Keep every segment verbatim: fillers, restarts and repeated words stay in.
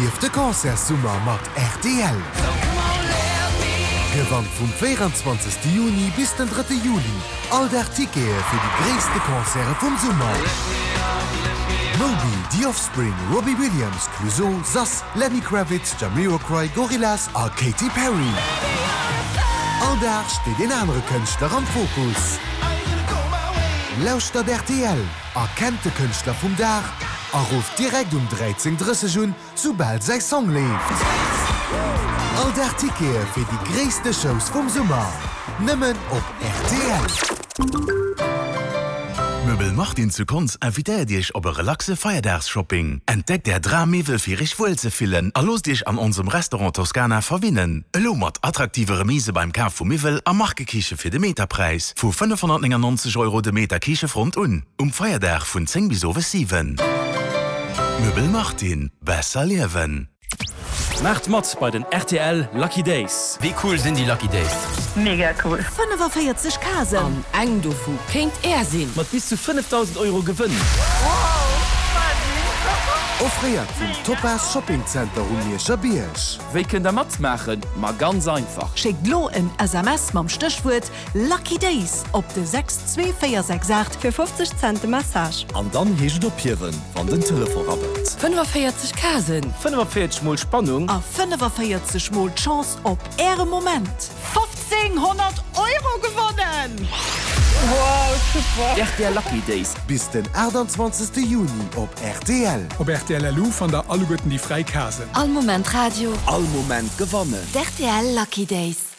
Erlieft de Concertssummer mat rtl! Gewannt vum véieranzwanzegste Juni bis den drëtte Juli all Dag Tickete fir déi gréisste Concerte vum Summer. Moby, The Offspring, Robbie Williams, Clouseau, Sass, Lenny Kravitz, Jamiroquai, Gorillaz a Katy Perry. All Dag steet een anere Kënschtler am Fokus. Lauschtert rtl, erkennt de Kënschtler vum Dag a rufft direkt um dräizéng drësseg un, soubal säi Song leeft. All Dag Tickete fir déi gréisste Shows vum Summer, nëmmen op rtl. Möbel Martin zu Konz invitéiert Iech op e relaxe Feierdaagsshopping. Entdeckt Är Drammiwwel fir Iech wuel ze fillen a loosst Iech an onsem Restaurant Toscana verwinnen. Elo mat attraktive Remise beim Kaf vu Miwwel a Markekiche fir de Meterpräis vu fënnefhonnertnéngannonzeg Euro de Meter Kichefront un. Um Feierdag vun zéng bis owes siwen. Möbel Martin, besser liewen. Maacht mat bei den rtl Lucky Days! Wéi cool sinn déi Lucky Days? Mega cool! fënnefaféierzeg Casen! An eng dovu kéint Är sinn! Mat bis zu fënnefdausend Euro Gewënn! Offréiert vum Topaz Shopping Center um Mierscher Bierg. Wéi kënnt der matmaachen? Ma ganz einfach! Schéckt lo en S M S mam Stéchwuert Lucky Days op de sechs zwee véier sechs aacht. Fir fofzeg Cent de Message. An dann heescht et ophiewen, wann den Telefon rabbelt. fënnefaféierzeg Casen! fënnefaféierzeg mol Spannung! A fënnefaféierzeg mol d'Chance op Äre Moment! Fofzénghonnert Euro gewonnen! Wow, super! Rtl Lucky Days. Bis den aachtanzwanzegste Juni op rtl. Op rtl L U fannt der alleguerten déi fräi Casen. All Moment Radio. All Moment gewannen. D'R T L Lucky Days.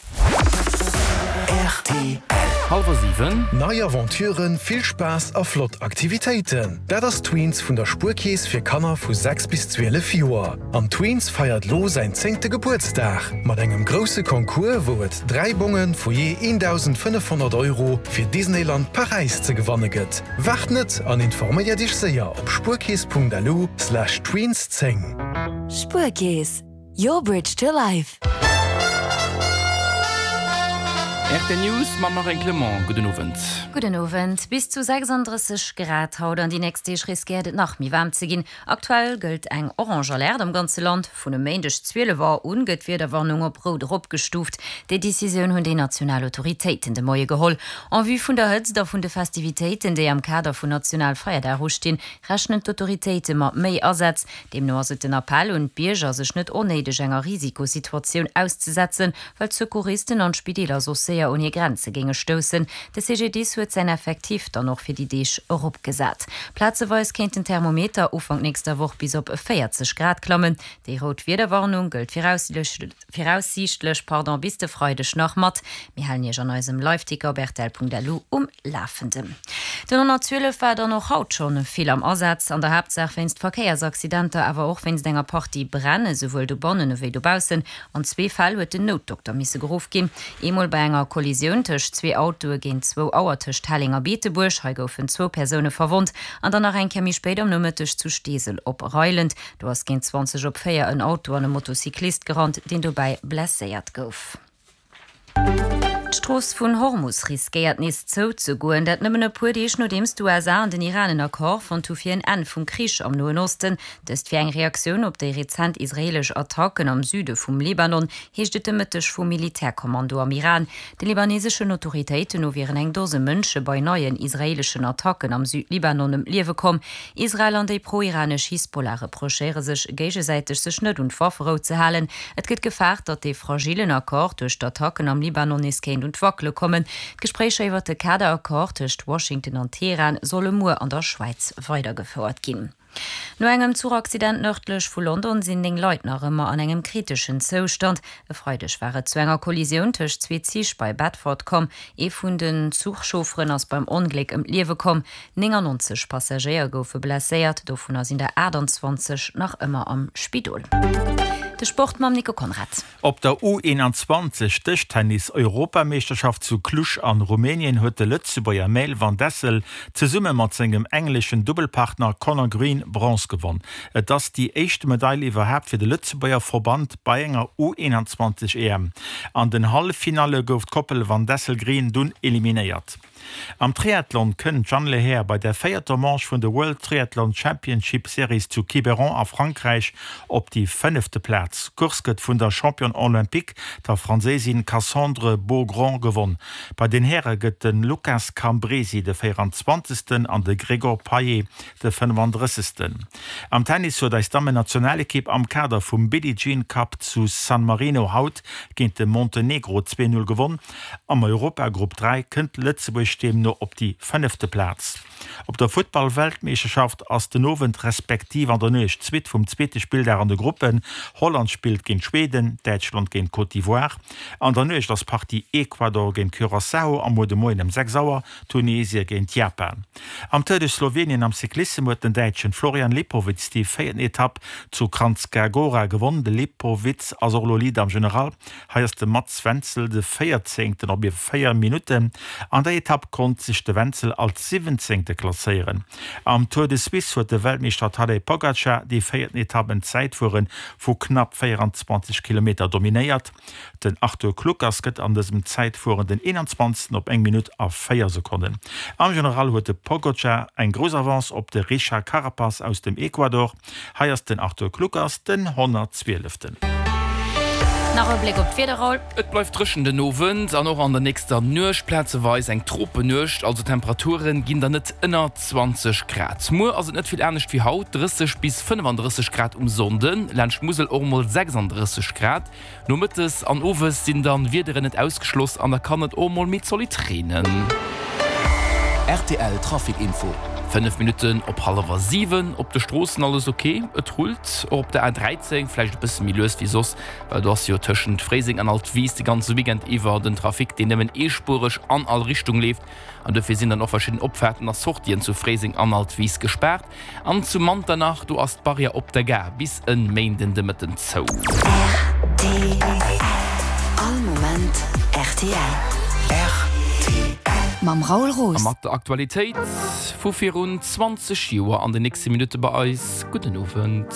R T L. Hallwer siwen. Nei Aventuren, vill Spaass a flott Aktivitéiten. Dat ass Tweens vun der Spuerkeess fir Kanner vu sechs bis zwielef Joer. An Tweens feiert lo säin zéngte Gebuertsdag mat engem grousse Concours, wou et dräi Bonge vu jee eendausendfënnefhonnert Euro fir Disneyland Paräis ze gewanne gëtt. Waart net an informéier dech séier op spuerkeess Punkt L U slash tweens zéng. Spuerkeess, your bridge to life. R T L News mam Marine Clement. Gudden Owend. Gudden Owend. Bis zu sechsanddrësseg Grad haut an déi nächst Deeg riskéiert et nach méi waarm ze ginn. Aktuell gëllt eng orange Alerte am ganze Land. Vun e Méindeg zwielef Auer un gëtt d'Wiederwarnung op rout eropgestuuft. Déi Decisioun hunn déi national Autoritéiten de Moie geholl. En vue vun der Hëtzt a vun de Festivitéiten, déi am Kader vun Nationalfeierdag ustinn, rechnen d'Autoritéite mat méi Asätz. Deemno ass et den Appell un d'Bierger, sech net onnéideg enger Risikosituatioun auszesetzen, well d'Secouristen an d'Spideeler soss séier un hir Grenze géinge stoussen. De C G D I S huet säin Effektiv dann och fir déi Deeg eropgesat. Plazeweis kéint den Thermometer Ufank nächster Woch bis op véierzeg Grad klammen. Déi rout Wiederwarnung gëllt viraussiichtlech pardon, bis de Freideg nach mat. Mir halen Iech an eisem Liveticker op rtl Punkt L U um Lafenden. Den honnertzwielef war dann och haut schonn vill am Asaz, an der Haaptsaach wéinst Verkéiersaccidenter, awer och wéinst enger Partie Bränn, esouwuel dobannen ewéi dobaussen. An zwee Fäll huet den Noutdokter misse geruff ginn. Eemol bei enger Kollisioun tëscht zwee Autoe géint zwou Auer tëscht Helleng a Beetebuerg, hei goufen zwou Persoune verwonnt, an dann nach eng Kéier méi spéit am Nomëtteg zu Steesel op Reiland. Do ass géint zwanzeg op véier en Auto an e Motocyclist gerannt, deen dobäi blesséiert gouf. D'Strooss vun Hormus riskéiert nees zou ze goen, dat nëmmen e puer Deeg nodeems d'U S A an den Iran en Accord fonnt hu fir en Enn vum Krich am Noen Osten. Dëst wier eng Reaktioun op déi rezent israeelesch Attacken am Süde vum Libanon, heescht et de Mëtteg vum Militärkommando am Iran. De libaneseschen Autoritéiten no wieren eng Dose Mënsche bei neien israeeleschen Attacken am Südlibanon ëm d'Liewe komm. Israel an déi pro-iranesch Hisbollah reprochéiere sech géigesäiteg, sech net un d'Wafferou ze halen. Et gëtt gefaart, datt dee fragillen Accord duerch d'Attacken am Libanon nees kéint un d'Wackele kommen. D'Gespréicher iwwer de Kaderaccord tëscht Washington an Teheran solle muer an der Schwäiz weidergefouert ginn. No engem Zuchaccident nërdlech vu London sinn néng Leit nach ëmmer an engem kriteschen Zoustand. E Freideg war et zu enger Kollisioun tëscht zwee Zich bei Bedford komm. Ee vun den Zuchchaufferen ass beim Ongléck ëm d'Liewe komm. néngannonzeg Passagéier goufe blesséiert, dovunner sinn der aachtanzwanzeg nach ëmmer am Spidol. De Sport mam Nico Conrad. Op der U eenanzwanzeg Dëschtennis-Europameeschterschaft zu Cluj an Rumänien huet de Lëtzebuerger Maël Van Dessel zesumme mat sengem engleschen Dubbelpartner Conor Green Bronze gewonn. Et ass déi éischt Medail iwwerhaapt fir de Lëtzebuerger Verband bei enger U eenanzwanzeg E M. An den Halleffinalle gouf d'Koppel Van Dessel-Green dunn eliminéiert. Am Triathlon kënnt d'Jeanne Lehair bei der véierter Manche vun de World Triathlon Championship Series zu Quiberon a Frankräich op déi fënnefte Plaz. D'Course gëtt vun der Championne olympique, der Franséisin Cassandre Beaugrand gewonn. Bei den Häre gëtt de Lucas Cambresi de véieranzwanzegsten an de Gregor Payet de fënnefandrëssegsten. Am Tennis huet eis Dammennationalekipp am Kader vum Billie Jean Cup zu San Marino haut géint de Montenegro zwee Null gewonn. Am Europagrupp dräi kënnt Lëtzebuerg deemno op déi fënnefte Plaz. Op der Futtball-Weltmeeschterschaft ass den Owend respektiv an der Nuecht d'Suite vum zweete Spilldag an de Gruppen. Holland spillt géint Schweden, Däitschland géint Côte d'Ivoire. An der Nuecht ass d'Partie Ecuador géint Curaçao a muer de Moien ëm sechs Auer Tunesie géint Japan. Am Tour de Slowenien am Cyclissem huet den Däitschen Florian Lipowitz déi véierten Etapp zu Kranjska Gora gewonn. De Lipowitz ass och elo Leader am General. Hei ass de Mats Wenzel de Véierzéngten op iwwer véier Minutten. An der Etapp konnt sech de Wenzel als Siwwenzéngte klasséieren. Am Tour de Suisse huet de Weltmeeschter Tadej Pogacar déi véierten Etapp en Zäitfuere vu knapp véieranzwanzeg Kilometer dominéiert. Den Arthur Kluckers gëtt an dësem Zäitfueren den eenanzwanzegsten op eng Minutt a véier Sekonnen. Am General huet de Pogacar eng grouss Avance op de Richard Carapaz aus dem Ecuador. Hei ass den Arthur Kluckers den honnertzwieleften. Nach e Bléck op d'Wieder, Raoul. Et bleift dréchen den Owend an och an der nächster Nuecht, plazeweis eng Tropenuecht, also d'Temperature ginn dann net ënner zwanzeg Grad. Muer ass et net vill anescht wéi haut, drësseg bis fënnefandrësseg Grad um Sonnden, laanscht d'Musel och mol sechsandrësseg Grad. Nomëttes an owes sinn dann Wiederen net ausgeschloss an da kann et och mol méi zolidd reenen. Rtl Trafic Info. Fënnef Minutten op hallwer siwen. Op de Stroossen alles ok, et rullt och op der A dräizéng, vläicht e bësse méi lues wéi soss, well do ass jo tëschent Fréiseng an Altwis de ganze Weekend iwwer den Trafic, deen nëmmen eespuereg an all Richtung leeft. An dofir sinn dann och verschidden Opfaarten a Sortien zu Fréiseng an Altwis gespaart. An zu Manternach, do ass d'Barrière op der Gare bis en Méinden de Mëtten zou. Rtl, All Moment rtl. Rtl. Mam Raoul Roos. A mat der Aktualitéit vu virun zwanzeg Joer an den nächste Minutte bei eis. Gudden Owend.